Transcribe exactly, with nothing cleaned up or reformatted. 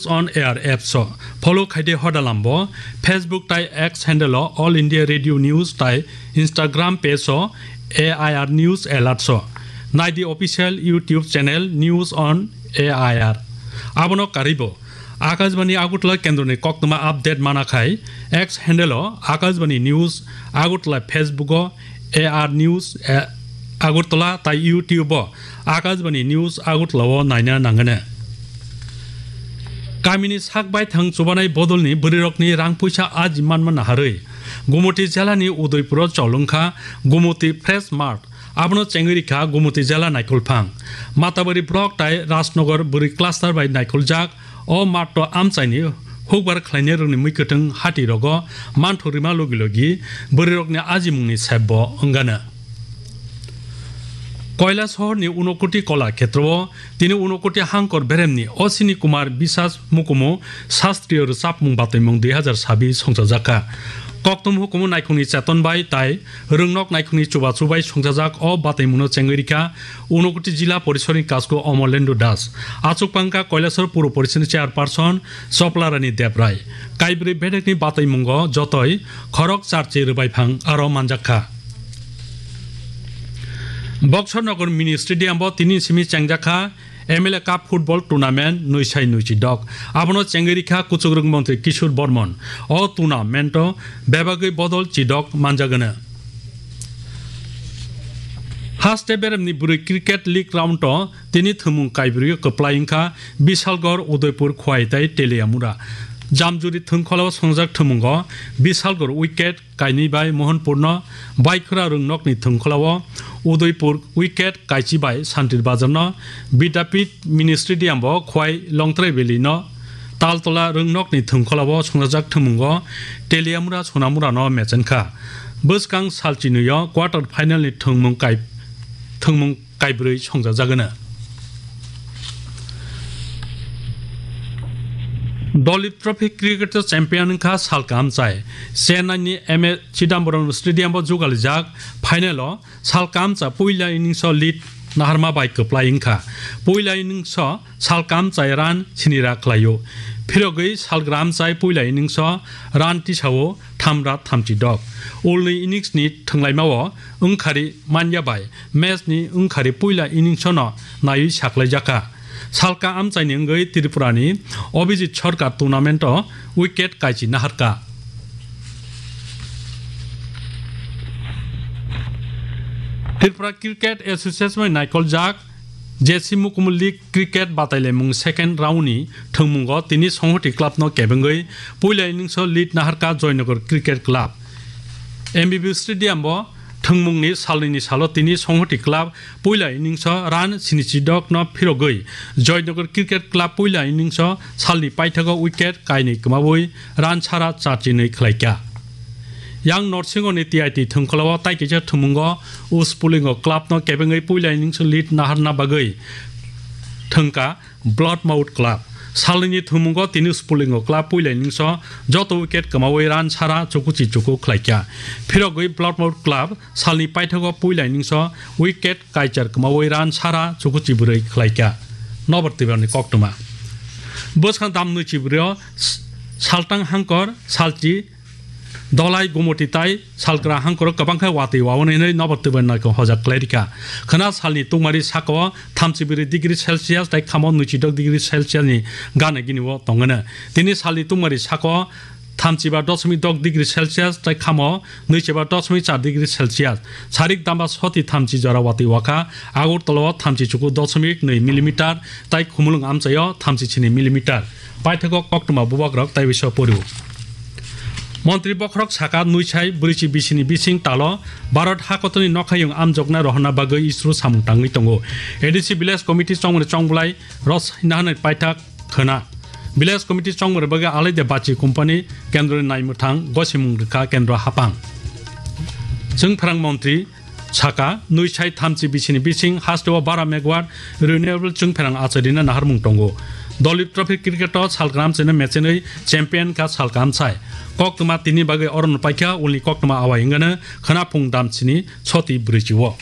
On Air apps o. Follow khaide hodalambo Facebook tai X handle o All India Radio News tai Instagram page o A I R News Alert o. Naidi official YouTube channel News on A I R. Abono karibo Akashbani Agartala kendroni koktwma update mana khai X handle o Akashbani News Agartala, Facebook o A R News, eh, Agartala tai YouTube o Akashbani News Agartala o naina nangane. Kamini sak baithang chubanai bodolni bwrwirokni rang puisa aji manma naharwi Gumoti jelani Udaipuro cholwngkha Gumoti Fresh Mart. Abono chengwi rikha Gumoti jela Naikolphang. Matabari block tai Rajnagar bwrwi cluster bai naikoljak o mart o amchaini hukbar khlainai rokni mui kwthwng hati rogo manthok rima logi logi bwrwirokni ajimungni sepbo wngano. Koilasohorni Unokoti Kola Khetrao tini Unokoti Hangkor beremni Ashwini Kumar Biswas mukumu Sastriyo Rwchapmung Bataimung dui hazar sabi songchajakha. Koktum hukumu naikhungni cheton bai tai rwngnok naikhungni chubachu bai songchajak o bataimungno chengwi rikha Unokoti Jila Porisorni Kasku Omolendra Das. Achukpangkha Koilasor Puro Porisoni Chairperson Choplarani Debrai. Kaibrwi bedekni bataimungo jotoi khorok charchi rwbaiphang aro manjakha. Boxer Nagar Mini Stadium bo tini simi chengjakha M L A Cup Football Tournament nui sai nui chi dok. Abono chengwi rikha Kuchukrwng Montri Kishore Bormon. O tournament o bebagwi bodol chi dok manjagwno. Haste beremni bwrwi Cricket League round o tini thwngmung kaibrwi kwplai wngkha Bishalgarh, Udaipur, Khwai tai Teliamura. Jamjuri thwngkhwlao songjak thwngmungo Bishalgarh wicket kainwi bai Mohanpurno, Baikhwra Rwngnokni thwngkhwlao Udaipur wicket kaichi bai Santir Bazarno, Vidyapith Mini Stadium bo Khwai Longtrai Valley no, Taltola Rwngnokni thwngkhwlao songjak thwngmungo Teliamura Sonamurano mechenkha. Bwskang salchinwi o quarter final ni thwngmung kai-, thwngmung kaibrwi songjajagwno. Dolip Trophy Cricket o champion wngkha salka amchai. Chennai ni M A Chidambaram Stadium o jugalijak final o salka amcha puila innings o lead naharma bai kwplai wngkha. Puila innings o salka amchai run sinira khlaio. Phirogwi salka amchai puila innings o run tisao thamra thamchi dok. Ulni innings ni thwnglaima o wngkhari manya bai match ni wngkhari puila innings no naiwi saklaijakha. Salka amchaini wngwi Tripura ni Abhijit Sarkar tournament o wicket kaichi naharkha. Tripura Cricket Association bai naikoljak J C Mukumu League Cricket batailaimung second round ni thwngmungo tini Songhoti Club no kebengwi puila innings o lead naharkha Joynagar Cricket Club. M B B Stadium o thwngmungni salnwini salo tini Songhoti Club puila innings o run sinichi dok no phirogwi Joynagar Cricket Club puila innings o salni paithago wicket kainwi kwmawi run sara charchinwi khlaikha. Yang Norsingoni T I T thwngkhwlao tai kaisa thwngmungo Uspulingo club no kebengwi puila innings lead naharna bagwi thwngkha Bloodmouth Club. Salnwini thwngmungo tini Uspulingo club puila innings o joto wicket kwmawi run sara chukuchi chuku khlaikha. Phirogwi Bloodmouth Club salni paithago puila innings o wicket kaichar kwmawi run sara chukuchi bwrwi khlaikha. Nobar Tibrani koktwma. Bwskang dam nwi chibrwi o s-, saltang hangkor salchi Dolai, Gumoti tai salkra hangkoro kwbangkha watwi wawanwi hinwi nobar twibani naikong hojak khlai rikha. Khwna salni tungmari sakao thamchi bwrwi degree Celsius tai khamo nwichi dok degree Celsius ni gana gini o tongwino. Tini salni tungmari sakao thamchi ba dosmik dok degree Celsius tai khamo nwichi ba dosmik char degree Celsius. Sarik damba soti thamchi jora watwi wakha. Agartala o thamchi chuku dosmik nwi millimeter tai Khumulwng amchaio thamchi sini millimeter. Paithago koktwma bubagrok tai bisa poriwo. Montri bokhorok saka nwisai bwrwichi bisini bising talo Bharat hakotorni nokhayung amjokna rohorna bagwi ISRO samung tangwi tongo. A D C Village Committee chongmani chongbwlai ros hina hanai paithak khwna. Village Committee chongmani bagwi alaide bachi company kendroni naimwthang gosimung rwkha kendro haphang. Chwng phrang montri saka, nwi sai thamchi bisini bising hasteo bara megawatt renewable chwngpherang achairina naharmung tongo. Dolip Trophy cricket o salkram cheno mechenwi champion kha salkam sai. Koktwma tini bagwi orono paikha, ulni koktwma awai wngano khwna phung damchini soti bwrwichi o.